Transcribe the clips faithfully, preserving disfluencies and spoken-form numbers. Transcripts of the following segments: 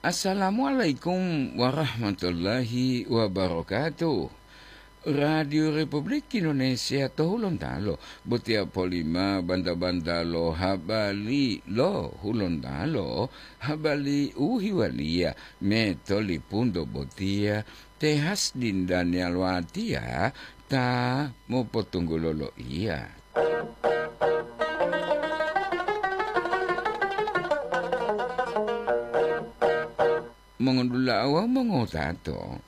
Assalamualaikum warahmatullahi wabarakatuh. Radio Republik Indonesia to Hulontalo, botiya polima banta-banta lo habari lo Hulontalo, habari u hiwaliya me tolipunto botiya, Tehas Dindanial Watiya ta mopotunggulo loiya. Mongondula'a wawu mongotato,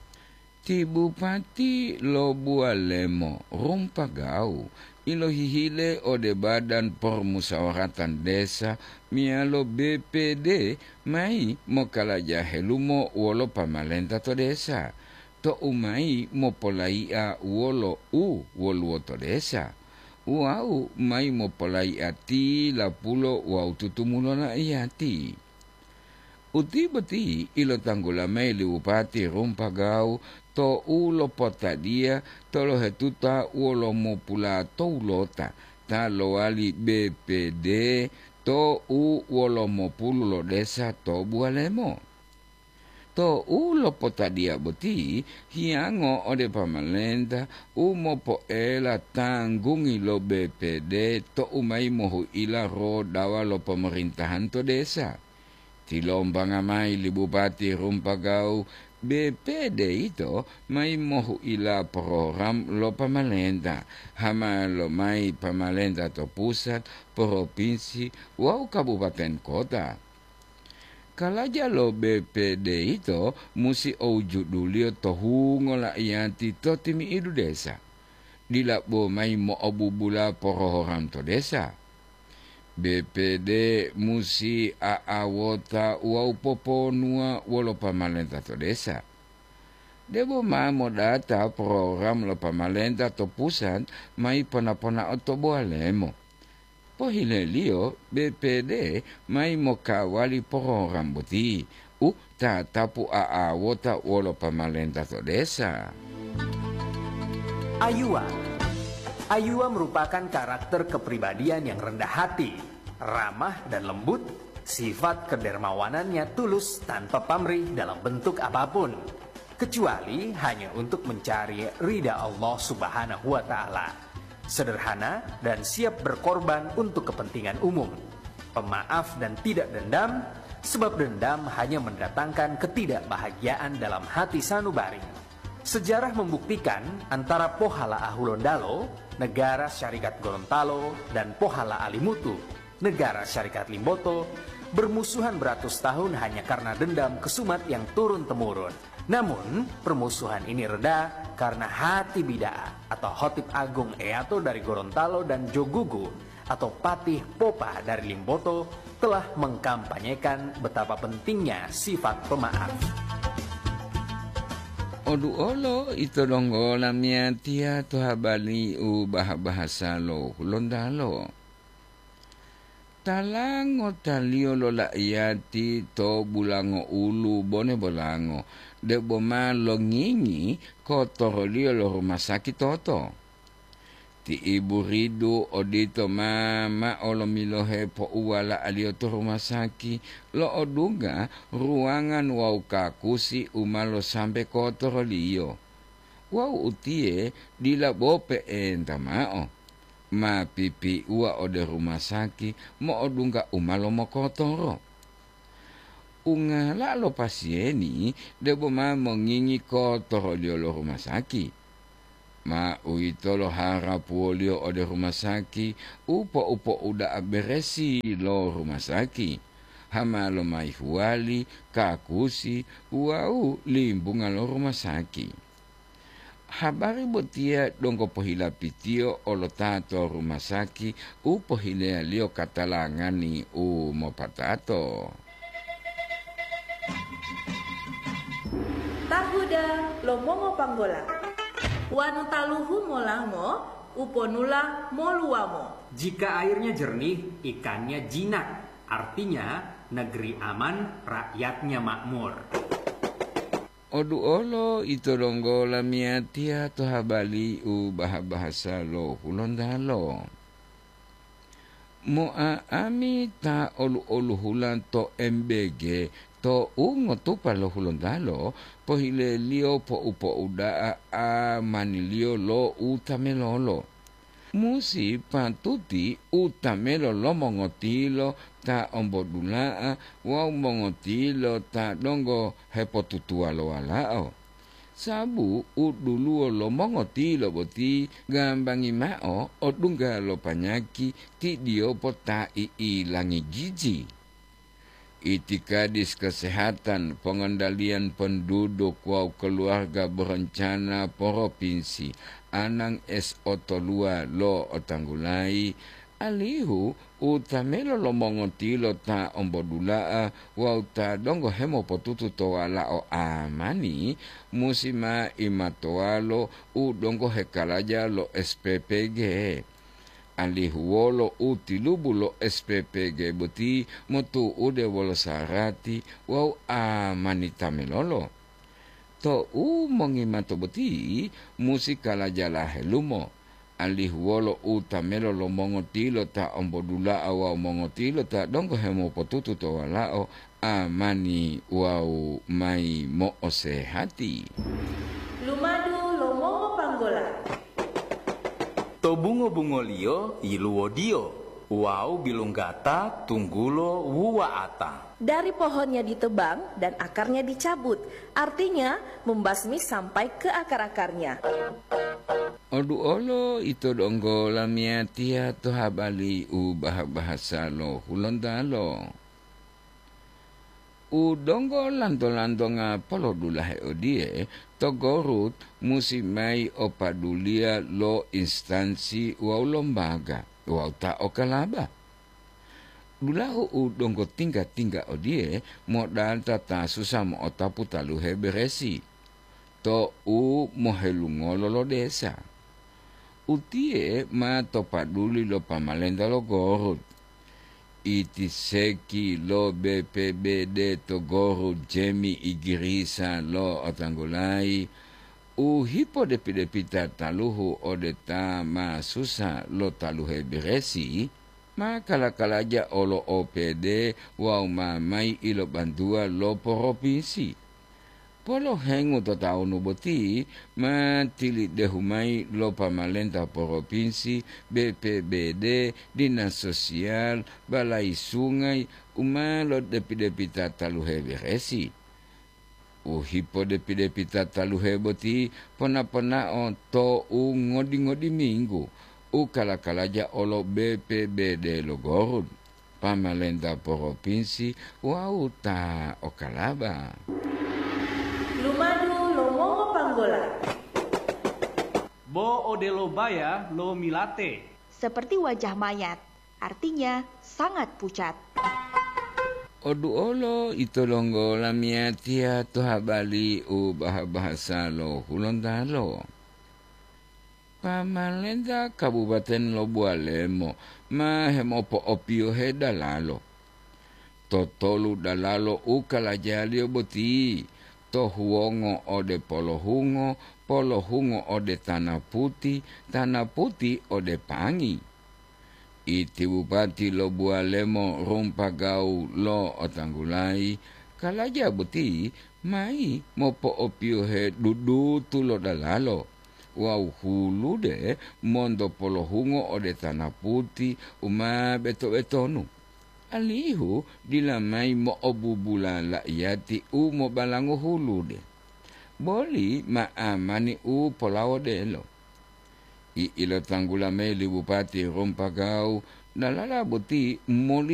ti Bupati lo Bualemo Rumpagau ilohihile ode Badan Permusawaratan Desa meyalo B P D mayi mokalaja helumo wolo pamalenta to desa, to'u mayi mopolai'a wolo u woluwo to desa, wawu mayi mopolai'a tilapulo wawu tutumulo la'iyati. Uti boti ilotanggula mayi li Bupati Rumpagau tou lopotadiya tolohetuta wolo mopula towulota ta lowali B P D tou wolo mopulu lo desa to Bualemo. Tou lopotadiya boti hiyango ode pamalenta u mopoela tanggungi lo B P D tou mayi mohuila rodawa lo pomarentahan to desa. Tilombanga mayi li Bupati Rumpagau, B P D yito mayi mohuila program lo pamalenta, hama lomayi pamalenta to pusat, propinsi, wawu kabupaten kota. Kalaja lo B P D yito musi owujuduliyo to hungo la'iyati to timi'idu desa. Dila bo mayi mo'obubula porohoram to desa. B P D musi a'awota wawu poponuwa wolo pamalenta to desa. Debo ma modata program lo pamalenta to pusat mayi pona-ponao to Boalemo. Pohileliyo B P D mayi mokawali program boti u tatapu a'awota wolo pamalenta to desa. Ayuwa. Ayuwa merupakan karakter kepribadian yang rendah hati, ramah dan lembut, sifat kedermawanannya tulus tanpa pamrih dalam bentuk apapun, kecuali hanya untuk mencari ridha Allah Subhanahu wa Ta'ala. Sederhana dan siap berkorban untuk kepentingan umum. Pemaaf dan tidak dendam, sebab dendam hanya mendatangkan ketidakbahagiaan dalam hati sanubari. Sejarah membuktikan antara Pohala Ahulondalo, Negara Syarikat Gorontalo, dan Pohala Alimutu, Negara Syarikat Limboto, bermusuhan beratus tahun hanya karena dendam kesumat yang turun-temurun. Namun, permusuhan ini reda karena Hati Bida'a atau Hotib Agung Eyato dari Gorontalo dan Jogugu atau Patih Popa dari Limboto telah mengkampanyekan betapa pentingnya sifat pemaaf. Oduolo ito donggo lamiyatiya to habari u bah-bahasa lo Hulontalo. Tala ngotaliyo lo la'iyati to bulango ulu bone bolango, debo ma longingi kotoroliyo lo rumasaki toto. Ti ibu ridu odito ma ma'o lomilohe pouwala'aliyo to rumasaki, lo'odungga ruwangan wawu kakusi u ma losambe kotoroliyo. Wawu utiye dila bo pe'enta ma'o, ma pipiuwa ode rumasaki mo'odungga u ma lomokotoro. Ungala lo pasiyeni debo ma mongingi kotoroliyo lo rumasaki. Ma uwitolo harapuwoliyo ode rumasaki u po'u-po'uda'a beresi lo rumasaki, hama lomayi huwali, kakusi wawu limbunga lo rumasaki. Habari botiya donggo pohilapitiyo olo ta to rumasaki u pohileyaliyo katalangani u mopatato. Tahuda lo mongopanggola. Wanu taluhu molango, uponula moluwamo. Jika airnya jernih, ikannya jinak. Artinya, negeri aman, rakyatnya makmur. Oduolo ito donggo lamiyatiya to habari u baha-bahasa lo Hulontalo. Mo'a'ami ta olu-oluhula to M B G, to u ngotupa lo Hulontalo, pohileliyo pou-pouda'a amaniliyo lo u tamelolo. Musi patuti u tamelo lo mongotilo ta ombodula'a wawu mongotilo ta donggo hepotutuwa lo walao. Sabu u duluwo lo mongotilo boti gambangi mao odungga lo panyaki tidiyopo ta i'ilangi jiji. Itikadis kesehatan, pongondaliyan penduduk wawu keluarga berencana provinsi Anang S O toluwa lo otanggulayi, alihu u tamelo lo mongotilo ta ombodula'a wawu ta donggo hemopotutu to walao amani, musi ma imatowalo u donggo hekalaja lo S P P G. Alihu wolo u tilubu lo S P P G boti motu'ude wolo sarati wawu amani tamelolo. To u mongimato boti musi kalajala helumo, alihu wolo u tamelo lo mongotilo ta ombodula'a wawu mongotilo ta donggo hemopotutu to walao amani wawu mayi mo'osehati. Lumadu lo mongopanggola. To bungo-bungoliyo yiluwodiyo wawu bilunggata tunggulo wuwa'ata. Dari pohonnya ditebang dan akarnya dicabut, artinya membasmi sampai ke akar-akarnya. Oduolo ito donggo lamiyatiya to habali u baha-bahasa lo Hulontalo. U donggo lanto-lantonga polodulahe odiye, to Gorut musi mayi o paduliya lo instansi wawu lombaga wawu ta okalaba. Dulahu u donggo tingga-tingga odiye modata ta susa mo'otapu taluhe beresi to u mohelungolo lo desa. Utiye ma to paduli lo pamalenta lo Gorut. Iti seki lo B P B D to Gorut Jemi Igirisa lo otanggulayi u hipodepi-depita taluhu ode ta ma susa lo taluhe beresi, ma kala-kalaja olo O P D wawu ma mayi ilobantuwa lo poropinsi. Polohengu to tawunu boti ma tilidehu mayi lo pamalenta poropinsi, B P B D, dinas sosial, balayi sungayi u ma lodepi-depita taluhe beresi. U hipodepi-depita taluhe boti pona-ponao to u ngodi-ngodi minggu u kala-kalaja olo B P B D lo Gorut, pamalenta poropinsi wawu ta okalaba. Lumadu lo mongopanggola. Bo odelo baya lo milate. Seperti wajah mayat, artinya sangat pucat. Oduolo ito donggo lamiyatiya to habali u baha-bahasa lo Hulontalo. Pamalenta Kabupaten lo Buwalemo ma hemopo'opiyohe dalalo. Totolu dalalo u kalajaliyo boti, to huwongo ode polohungo, polohungo ode tana puti, tana puti ode pangi. Iti bupati lo Buwalemo Rumpagawu lo otanggulayi, kalaja boti mayi mopo'opiyohe dudutu lo dalalo wawu hulude monto polohungo ode tana puti u ma beto-betonu, alihu dila mayi mo'obubula la'iyati u mobalango hulude, boli ma amani u polawodelo. I'ilotanggula mayi li Bupati Rumpagawu, dalala boti moli